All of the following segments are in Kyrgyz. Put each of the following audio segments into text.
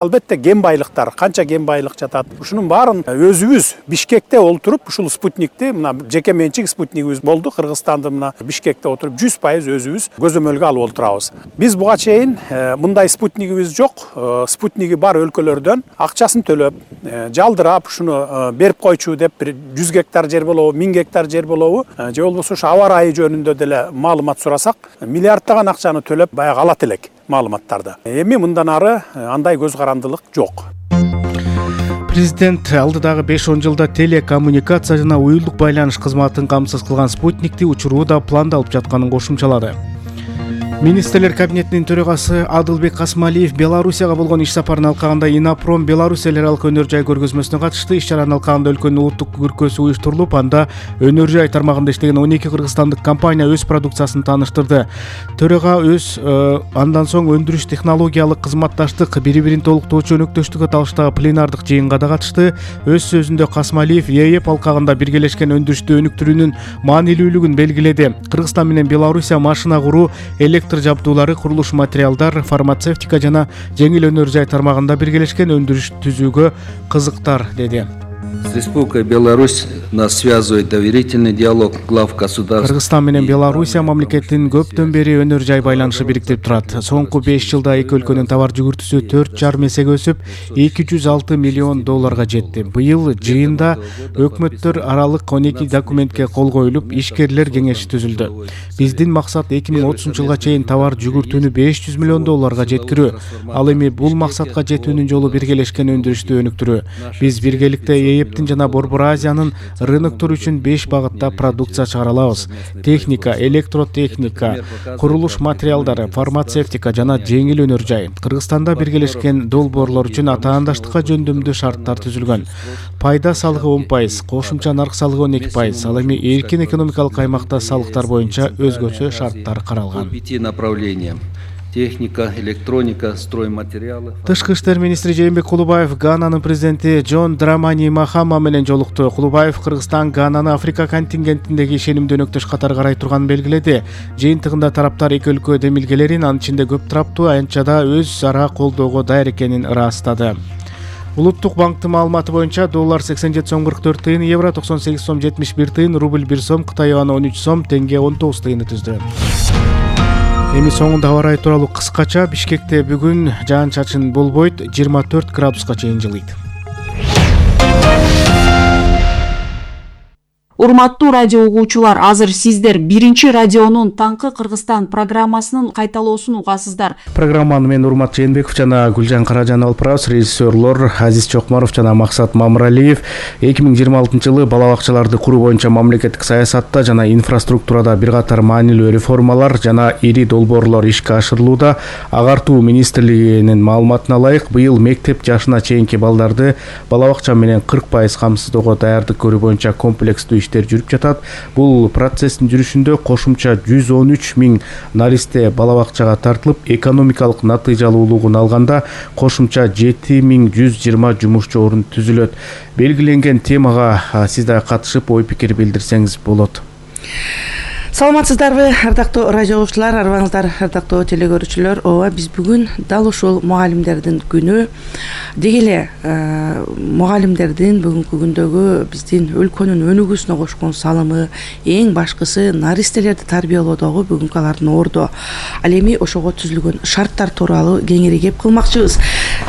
Албетте кен байлыктар, канча кен байлык жатат. Ушунун баарын өзүбүз Бишкекте олтуруп, ушул спутникти, мына жеке менчик спутнигибиз болду. Кыргызстанды мына Бишкекте отуруп 100% өзүбүз көзөмөлгө алып отурабыз. Биз буга чейин мындай спутнигибиз жок. Спутниги бар өлкөлөрдөн акчасын төлөп, жалдырап, ушуну берип койчу деп 100 гектар жер болобу, 1000 гектар жер болобу, же болбосо ушу аба ырайы жөнүндө деле маалымат сурасак, миллиарддаган акчаны төлөп баягы алат элек маалыматтарды. Эми мындан ары андай көз карандылык жок. Президент алдыдагы 5-10 жылда телекоммуникация жана уюлдук байланыш кызматын камсыз кылган спутникти учуруу да пландалып жатканын кошумчалады. Министрлер кабинетинин төрагасы Адылбек Касмалиев Белоруссияга болгон иш сапарын алкагында Инопром Беларусь эл аралык өнөр жай көргөзмөсүнө катышты. Иш чаранын алкагында өлкөнүн улуттук көркөсү уюштурулуп, анда өнөр жай тармагында иштеген 12 кыргызстандык компания өз продукциясын тааныштырды. Төрага андан соң өндүрүш технологиялык кызматташтык бири-бирин толуктоочу өнөктөштүккө талаштагы пленардык жыйынга да катышты. Өз сөзүндө Касмалиев ЕЭП алкагында биргелешкен өндүрүштү өнүктүрүүнүн маанилүүлүгүн белгиледи. Кыргызстан менен Белоруссия машина куруу, электр жабдуулары, курулуш материалдар, фармацевтика жана жеңил өнөр жай тармагында биргелешкен өндүрүш түзүүгө кызыктар, деди. С Республикой Беларусь нас связывает доверительный диалог глав государств. Кыргызстан менен Белоруссия мамлекетинин көптөн бери өнөр жай байланышы бириктирип турат. Соңку 5 жылда эки өлкөнүн товар жүгүртүүсү 4,5 эсеге өсүп, $206 миллион жетти. Быйыл жыйында өкмөттөр аралык 12 документке кол коюлуп, ишкерлер кеңеши түзүлдү. Биздин максат 2030 жылга чейин товар жүгүртүүнү $500 миллион жеткирүү. Ал эми бул максатка жетүүнүн жолу биргелешкен өндүрүштү өнүктүрүү. Биз биргеликте ЕЭПтин жана Борбор Азиянын рыноктор үчүн 5 багытта продукция чыгара алабыз. Техника, электротехника, курулуш материалдары, фармацевтика жана жеңил өнөр жай. Кыргызстанда биргелешкен долбоорлор үчүн атаандаштыкка жөндөмдүү шарттар түзүлгөн. Пайда салыгы 10%, кошумча нарк салыгы 12%. Ал эми эркин экономикалык аймакта салыктар боюнча өзгөчө шарттар каралган. Техника, электроника, стройматериалы. Тышкы иштер министри Жээнбек Кулубаев Гананын президенти Джон Драмани Махама менен жолукту. Кулубаев Кыргызстан Гананы Африка контингентиндеги ишенимдүү өнөктөш катары карай турганын белгиледи. Жыйынтыгында тараптар эки өлкө демилгелерин, анын ичинде көп тараптуу аянтчада өз ара колдоого даяр экенин ырастады. Улуттук банктын маалыматы боюнча доллар 87,44 тыйын, евро 98,71 тыйын, рубль 1 сом, Кытай юаны 13 сом, тенге 19 тыйынды түздү. Эми соңунда аба ырайы тууралуу кыскача. Бишкекте бүгүн жаан-чачын болбойт, 24 градуска чейин жылыйт. Урматтуу радио угуучулар, азыр сиздер биринчи радионун Таңкы Кыргызстан программасынын кайталоосун угасыздар. Программаны мен Урмат Жээнбеков жана Гүлжан Каражан алып барабыз. Режиссерлор Азиз Чокмаров жана Максат Мамыралиев 2026 жылы бала бакчаларды куруу боюнча мамлекеттик саясатта жана инфраструктурада бир катар маанилүү реформалар жана ири долбоорлор ишке ашырылууда. Агартуу министрлигинин маалыматына ылайык, быйыл мектеп жашына чейинки балдарды бала бакча менен 40% камсыздоого даярдык көрүү боюнча комплекстүү жүрүп жатат. Бул процесстин жүрүшүндө кошумча 113 000 наристе бала бакчага тартылып, экономикалык натыйжалуулугун алганда кошумча 7120 жумушчу орун түзүлөт. Белгиленген темага сиз да катышып ой пикир билдирсеңиз болот. Саламатсыздарбы, ардактуу радио угуучулар, арбаңыздар, ардактуу телекөрүүчүлөр. Ооба, биз бүгүн дал ушул мугалимдердин күнү деги эле мугалимдердин бүгүнкү күндөгү биздин өлкөнүн өнүгүүсүнө кошкон салымы, эң башкысы наристелерди тарбиялоодогу бүгүнкү алардын ордо. Ал эми ошого түзүлгөн шарттар тууралуу кеңири кеп кылмакчыбыз.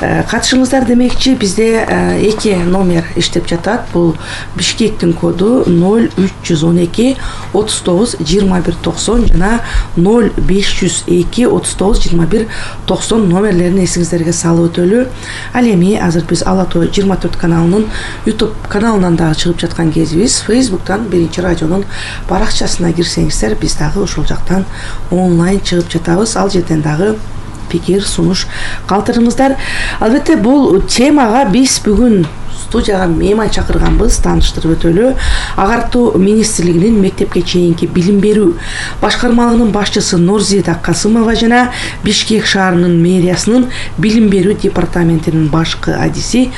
Катышыңыздар демекчи, бизде 2 номер иштеп жатат. Бул Бишкектин коду 0312 39 2190 жана 0502 39 21 90 номерлерин эсиңиздерге салып өтөлү. Ал эми азыр биз Ала Тоо 24 каналынын YouTube каналынан дагы чыгып жаткан кезибиз. Facebook'тан биринчи радионун баракчасына кирсеңиздер, биз дагы ошол жактан онлайн чыгып жатабыз. Ал жерден дагы пикир, сунуш калтырыңыздар. Албетте бул темага биз бүгүн студияга мейман чакырганбыз, тааныштырып өтөлү. Агартуу министрлигинин мектепке чейинки билим берүү башкармалыгынын башчысы Нурзида Касымова жана Бишкек шаарынын мэриясынын билим берүү департаментинин башкы адиси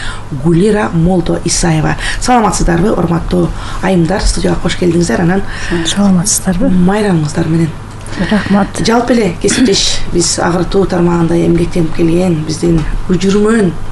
Гулира Молдо Исаева. Саламатсыздарбы, урматтуу айымдар, студияга кош келдиңиздер. Анан саламатсыздарбы? Майрамыңыздар менен. Рахмат. Жалпы эле кесиптеш биз агыртуу тармагында эмгектенип келген биздин көчүрмөн